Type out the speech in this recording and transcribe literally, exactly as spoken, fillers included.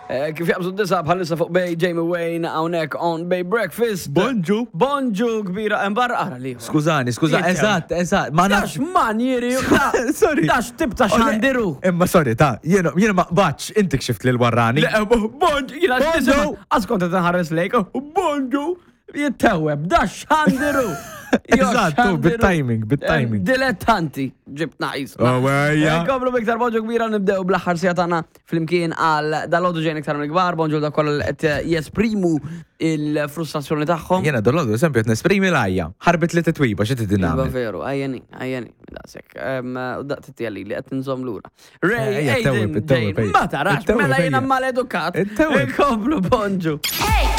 Eh, Kif jaqbżu d-disgħa bħalissa fuq Bay Jamie Wayne hawnhekk on Bay Breakfast. Bonġu. Bonġu kbira, embarra ara li. Skużani, skuża, Jittew. eżatt, eżatt. Ma Dax nafx. manjeri, Sorry. Dax tip ta' xandiru. Imma sorry, ta' jiena jiena ma qbadx, inti kxift lil warrani. Bonġu, jiena Bonġu. Għax kont nħares lejk, bonġu, jitteweb, dax xandiru. Eżatt, tu, bit-timing, bit-timing. Dilettanti, ġibt naqis. Oh, ejja. Komplu biktar bonġu kbira, nibdew bl-aħħar siegħa tagħna flimkien għal dal-għodu ġejn iktar mill-kbar, bonġu da kollha li qed jesprimu il-frustrazzjoni tagħhom. Jiena dal-għodu, eżempju, qed nesprimi l-għajja. Ħarbit li titwiba, xi tidin Iva nagħmel? veru, għajjeni, għajjeni, daqsek. U daqt t-tjelli li qed nżomm lura. Ray, Ejja, Aiden, ittewweb, ittewweb, Jane, ejja. ma tarax, Ittewweb, mela jiena ejja. maledukat. Ittewweb. Komplu bonġu.